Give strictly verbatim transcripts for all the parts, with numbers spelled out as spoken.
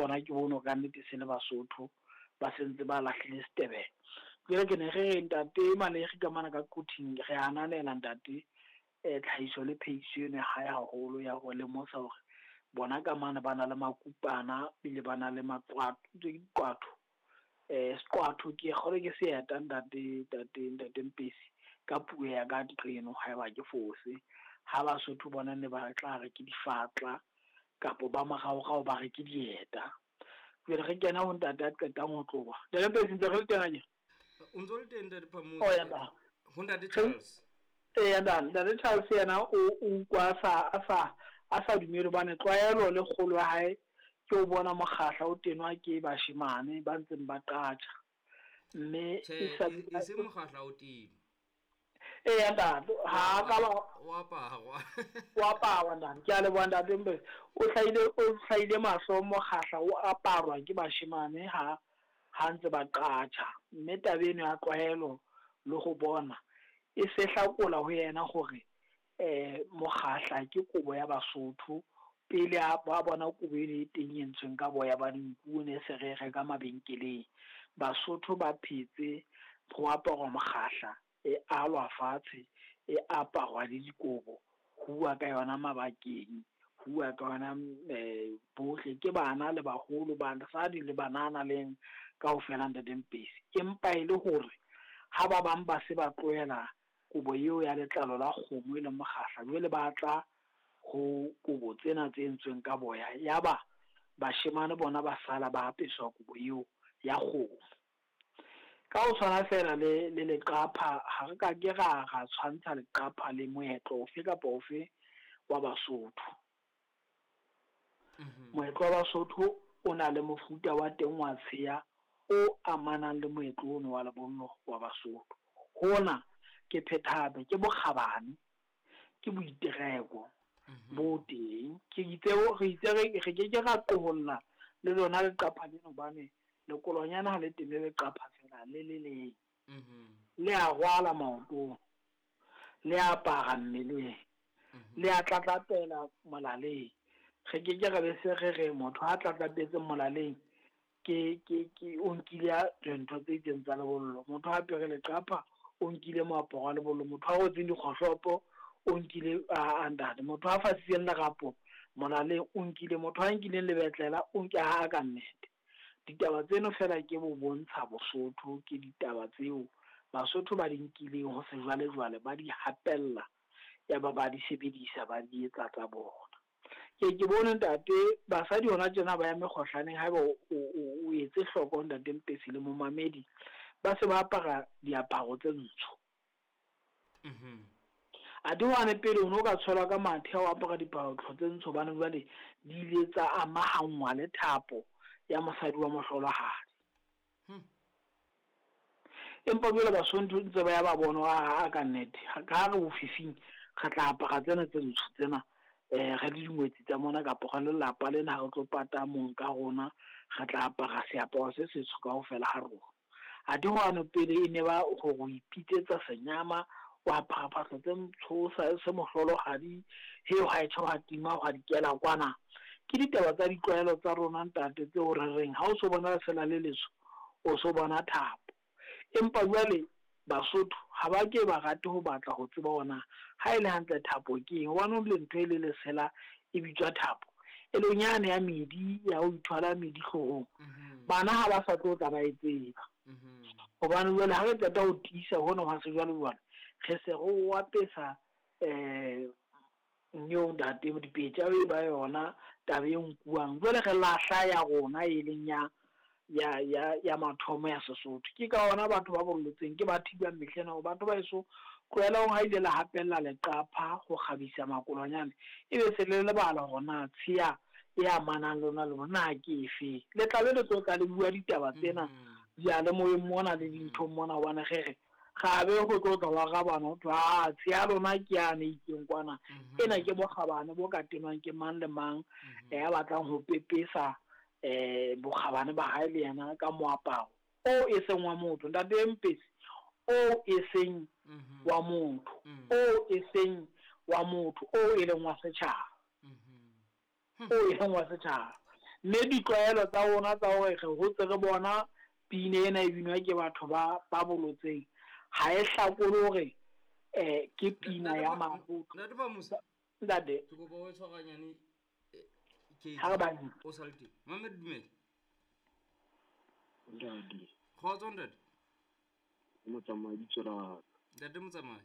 bona ke bone ka nnete se le Basotho ba sentse ba lahlile Setebele. Jwale ke ne re re ntate Malegi ka mona ka Quthing re ananela ntate eh tlhahiso le phehiso eno ya hae haholo ya ho lemosa hore bona ka mane ba na le makupana ebile ba na le maqwatho diqwatho. Eh seqwatho ke kgolwe ke seeta ntate ntate ntate Mpesi ka puo ya ka nqeno haeba ke fose. Ha Basotho bona ne ba tla re ke difatla kapo ba moraorao ba re ke dieta. Jwale re kena ho ntate a qetang ho tloha. Ntate Mpesi ntse re le teng akere? O ntso le teng ntate Phamotse. Oh ya ntate. Ho ntate Charles. Eya ntate, ntate Charles yena o o utlwa a sa a sa a sa dumele hobane tlwaelo le kgolo ya hae ke o bona mokgahla o tenwa ke bashemane ba ntseng ba qatjha. Mme Tjhe, e sa e seng mokgahla o teng. Eya ntate, ha ka ba O aparwa. O aparwa ntate. Ke a leboha ntate Mpesi. O hlahile o hlahile mahlo mokgahla o aparwa ke bashemane ha ha ntse ba qatjha. Mme taba eno ya tlwaelo le ho bona e se hlakola ho yena hore eh mokgahla ke kobo ya Basotho. Pele a ba bona kobo eno e teng e entsweng ka boya ba dinku ne se re reka mabenkeleng. Basotho ba phetse ho aparwa mokgahla e alwa fatshe e aparwa le dikobo ho bua ka yona mabakeng, ho bua ka yona eh bohle ke bana le baholo, basadi le banana leng kaofela ntate Mpesi. Empa e le hore ha ba bang ba se ba tlohela kobo eo ya letlalo la kgomo e leng mokgahla, jwale ba tla ho kobo tsena tse entsweng ka boya, yaba bashemane bona ba sala ba apeswa kobo eo ya kgomo. Ka ho tshwana fela le le leqapha, ha re ka ke ra ra tshwantsha leqapha le moetlo ofe kapa ofe wa Basotho. Moetlo wa Basotho o na le mofuta wa teng wa tsheya o amanang le moetlo ono wa lebollo wa Basotho. Hona ke phethahape, ke bokgabane, ke boitereko bo teng. Ke itse re itse re re ke ke ra qoholla le lona leqapha lena hobane lekolonyana ha le tene leqapha fela le le leng. Le a rwala maotong, le apara mmeleng, le a tlatlapela molaleng. Re ke ke ra be se re re motho ha tlatlapetse molaleng ke ke ke o nkile dintho tse itseng tsa lebollo. Motho ha apere leqapha o nkile moaparo wa lebollo, motho ha rwetseng dikgohlopo o nkile a ntate, motho ha fasitseng lerapo molaleng o nkile, motho ha nkileng lebetlela o nke ha ka nnete. Ditaba tseno fela ke bo bontsha Bosotho, ke ditaba tseo Basotho ba di nkileng ho sejwalejwale, ba di hapella ya ba ba di sebedisa, ba di etsa tsa bona. Ke ke bone ntate basadi hona tjena ba ya mekgohlaneng, haeba o o o etse hloko ntate Mpesi le momamedi, ba se ba apara diaparo tse ntsho. Mhm. Athe hwane pele o no ka tsholwa ka mathe ha o apara diaparo tse ntsho, hobane jwale di ile tsa amahanngwa le thapo ya mosadi wa mohlolohadi. Hmm. Empa jwale Basotho ntse ba ya ba bona ha ka nnete, ka re bofifing re tla apara tsena tse ntsho tsena eh re le dingwetsi tsa mona kapa re lelapa lena ha re tlo pata mong ka rona, re tla apara seaparo se setsho kaofela ha rona. Athe hwane pele e ne ba hore o ipitsetsa senyama, o apara phahlo tse ntsho se mohlolohadi, he ha e tjho ha tima hwa dikela kwana. Ke ditaba tsa ditlwaelo tsa rona ntate tseo re reng ha o so bona lesela le letsho o so bona thapo. Empa jwale Basotho ha ba ke ba rate ho batla ho tseba hore ha e le hantle thapo ke eng, hobane le ntho e le lesela e bitswa thapo, e leng yane ya medi ya ho ithwala medi hloohong. Bana ha ba sa tlo tla ba e tseba, hobane jwale ha re qeta ho tiisa hona hwa sejwalejwale, re se re o apesa eh nyo ntate dipetja e ba yona taba e nkuwang. Jwale re lahla ya rona e leng ya ya ya ya mathomo ya Sesotho. Ke ka ona batho ba bollotseng ke ba thibang mehleng hore batho ba eso tlohelang ha ile la hapella leqapha ho kgabisa makolonyane, ebe se le lebala hore na tsheya e amanang le lona le bona ke efe. Le tla be le tlo tla le bua ditaba tsena diyalemoyeng mona le dinthong mona, hobane re re ga be go tlo tla wa rabana ho thwe a tsheya lona ke yane itseng kwana. Ena ke bokgabane bo ka tenwang ke mang le mang ya batlang ho pepesa eh bokgabane ba hae le yena ka moaparo o e seng wa motho. Ntate Mpesi, o e seng wa motho, o e seng wa motho, o e leng wa setjhaba, o e leng wa setjhaba. Mme ditlwaelo tsa rona tsa hore re hotse re bona pina ena e binwa ke batho ba ba bolotseng ha e hlakole hore eh ke pina ya mabotho. Ntate Phamotse. Ntate. Ke kopa o tshwaranyane ke ha ba ni. O sa le teng. Mamed dumela. Ntate. Khotso ntate. Motsamai bitso. Ntate Motsamai.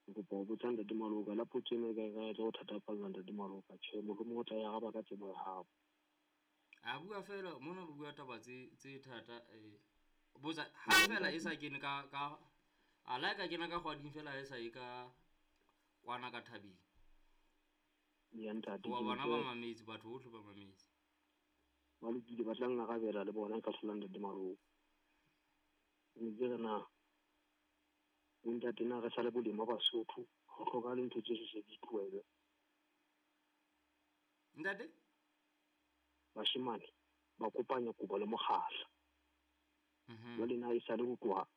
Ke kopa ho botsa ntate Maloka la potso ena ka ka tla o thatafalla ntate Maloka tjhe mohlomong o tla ya araba ka tsebo ya hao. A bua fela mona re bua taba tse tse thata eh botsa ha fela e sa kene ka ka a la ka kena ka kgwading fela e sa e ka kwana ka thabeng. Ya ntate. Wa bona ba mametse batho bohle ba mametse. Ba lokile ba tla ngarabela le bona ka hlola ntate Maloka. Mme ke re na ntate na re sale boleng ba Basotho ho hloka le ntho tse se di tlohele. Ntate bashimane ba kopanya kobo le mokgahla. Mhm. Jwale na e sale ho tloha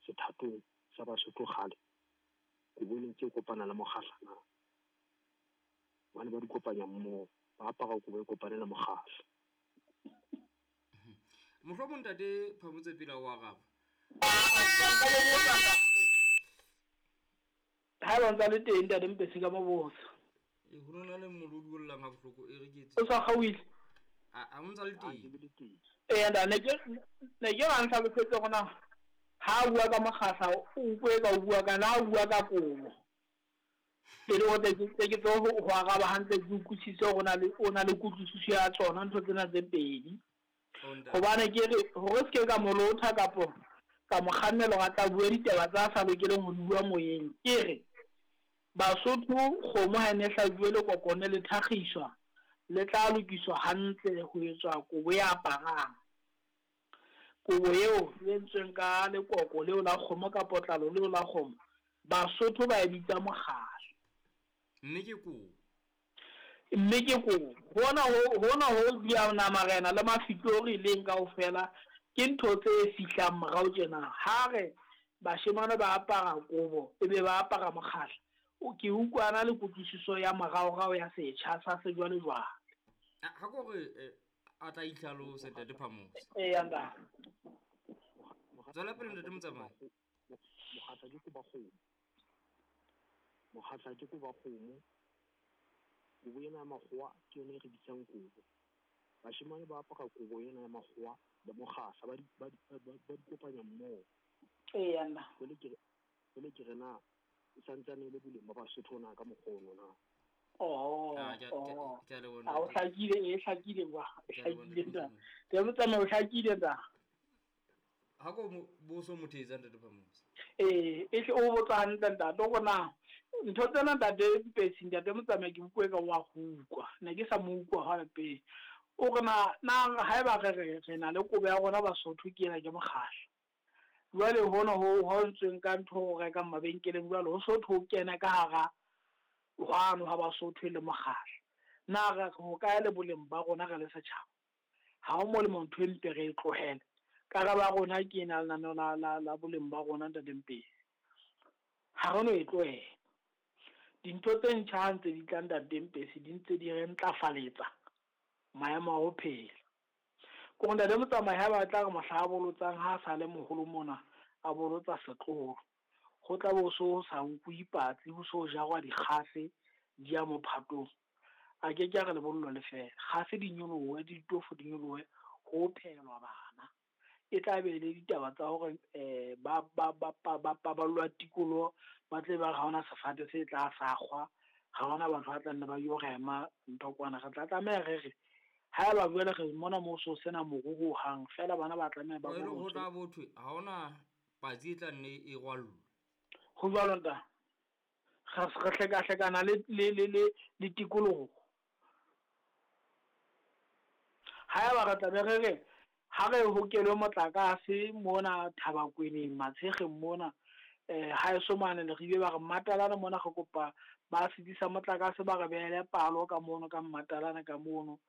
sethatong sa Basotho kgale kobo ne ntse kopana le mokgahla na. Bana ba di kopanya mmoho ba apara kobo e kopane le mokgahla. Mohlomong ntate Phamotse pele o araba. Ha ba ntse le teng ntate Mpesi ka mo botsa. E ho nona le molodi o llang ha bohloko e re ke O sa kgaohile? A a ntse le teng. Eh nda ne ke ne ke ba ntlhalosetse gona ha bua ka mokgahla o ukwe ka o bua ka na bua ka kobo. Pele o tle ke ke tlo ho araba hantle ke utlwisise hore na le o na le kutlwisiso ya tsona ntho tsena tse pedi. Hobane ke re hore se ke ka molotha kapo ka mokgannelo ga tla bua ditaba tsa sa lokeleng ho bua moyeng. Ke re Basotho kgomo ha ne hlajuwe le kokone le thakgiswa le tla lokiswa hantle ho etswa kobo ya aparang. Kobo eo e entsweng ka lekoko leo la kgomo ka potlalo leo la kgomo Basotho ba e bitsa mokgahla. Mme ke kobo. Mme ke kobo. Hona ho hona ho dia marena le mafitori leng kaofela ke ntho tse fihlang morao tjena. Ha re bashemane ba apara kobo ebe ba apara mokgahla o ke utlwana le kutlwisiso ya moraorao ya setjha sa sejwalejwale. Ha ko re a tla itlhalose ntate Phamotse. Eh anda. Tswela pele ntate Motsamai. Mokgahla ke koba kgomo. Mokgahla ke koba kgomo. Kobo ena ya makgowa ke yona e re bitsang kobo. Bashemane ba apara kobo ena ya makgowa le mokgahla ba di ba di ba di kopanya mmoho. Eh anda. Jwale ke jwale ke re na e santsane le boleng ba Basotho na ka mokgono na. Oh, oh. Ke a le bona. A o hlakile e hlakile wa. Hlakile nda. Ke motsamai o hlakile nda. Ha ko boso mothetsa ntate Phamotse. Eh, e hle o botsa hantle ntate o na ntho tsena ntate Mpesi ntate Motsamai ke bukwe ka wa go utlwa. Ne ke sa mo utlwa ha pele. O re na na haeba re re re na le kobo ya rona Basotho ke ena ke mokgahla. Jwale hona ho ho ntsweng ka ntho ho reka mabenkeleng jwale ho sotho ho kena ka hara hwano ha Basotho le mokgahla. Na re ho kae le boleng ba rona re le setjhaba? Ha ho molemo ntho e mpe re e tlohele. Karabo ya rona ke ena lenaneo la la la boleng ba rona ntate Mpesi. Ha re no e tlohela. Dintho tse ntjha ha ntse di tla ntate Mpesi di ntse di re ntlafaletsa maemo a ho phela. Ko ntate Motsamai ha ba tla re mohla a bolotsang ha sa le moholo mona a bolotsa setloholo. Ho tla bo so sa nkuwe patsi ho so jarwa dikgase di ya mophatong. A ke ke a re lebollo le fela. Kgase di nyolohe ditofo di nyolohe ho phelwa bana. E tla be le ditaba tsa hore eh ba ba ba ba paballwa tikoloho ba tle ba re ha hona sefate se tla sakgwa ha hona batho ba tla nne ba yo rema ntho kwana. Re tla tlameha re re haeba jwale re mona mo so sena moruo hang fela bana ba tlameha ba bo ho tla bothwe ha hona patsi e tla nne e rwallwe. Ho jwalo nta. Re re hleka hlekana le le le le le tikoloho. Haeba re tla be re re ha re hokelwe motlakase mona Thabakweneng Matshekgeng mona eh ha eso mane le ribe ba re Matalana mona re kopa ba sedisa motlakase ba re behele palo ka mono ka Matalana ka mono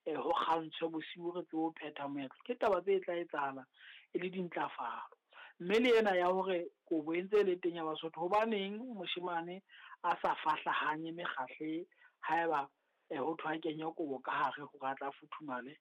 eh ho kgantshwe bosiu re tsebe ho phetha moetlo. Ke taba tse tla etsahala e le dintlafalo. Mme le ena ya hore kobo e ntse e le teng ya Basotho hobaneng moshemane a sa fahlahanye mekgahle haeba Eh, ho thwe a kenye kobo ka hare hore a tla futhumale.